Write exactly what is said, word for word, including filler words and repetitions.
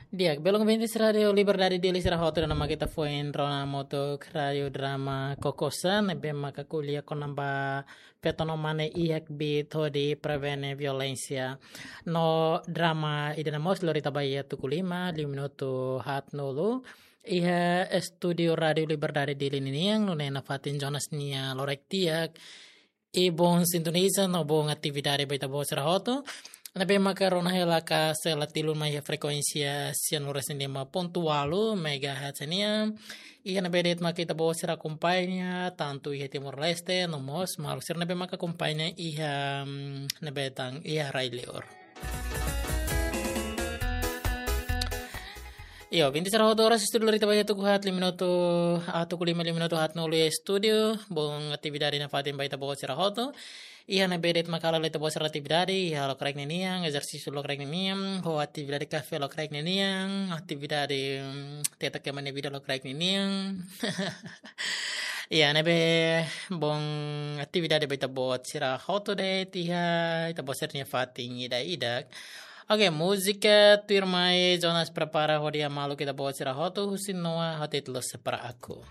Di'ak, belun ouvintes Rádiu Liberdade Dili sira hotu, ida-ne'e mak ita foin rona hamutuk Rádiu Drama Kokosa, ne'ebé maka ko'alia kona-ba feto no mane iha kbiit hodi prevene violénsia. No drama ida-ne'e mós lori ita ba iha tuku lima, liu minutu haatnulu. Iha estúdiu Rádiu Liberdade Dili ninian, nune'e nafatin Jonas nia loraik di'ak. I bom sintoniza no bom atividade ba ita-boot sira hotu. Ne'ebé maka rona hela ka sela tilun mai iha frekuénsia sianulu-resin-lima pontu ualu megahertz nian. Iha ne'ebé de'it maka ita-boot sira akompaña, tantu iha Timor-Leste, no mós maluk sira ne'ebé maka akompaña iha, mm, ne'ebé tan iha rai-liur. Iyo, vinte e seis horas estúdiu lori ita ba iha tuku haat liu minutu, ah, tuku lima liu minutu haatnulu iha estúdiu, bom atividade nafatin ba ita-boot sira hotu. Iha ne'ebé de'it maka hala'o ita-boot sira atividade, iha lokraik ninian, ezersísiu lokraik ninian, ho atividade kafé lokraik ninian, atividade, mm, teta kema nia vida lokraik ninian. Iha ne'ebé bom atividade ba ita-boot sira hotu de'it iha ita-boot sira-nia fatin ida-idak. Oke, múzika tuirmai Jonas prepara hodi hamaluk ita-boot sira hotu husi Noah ho títulu Separa Aku.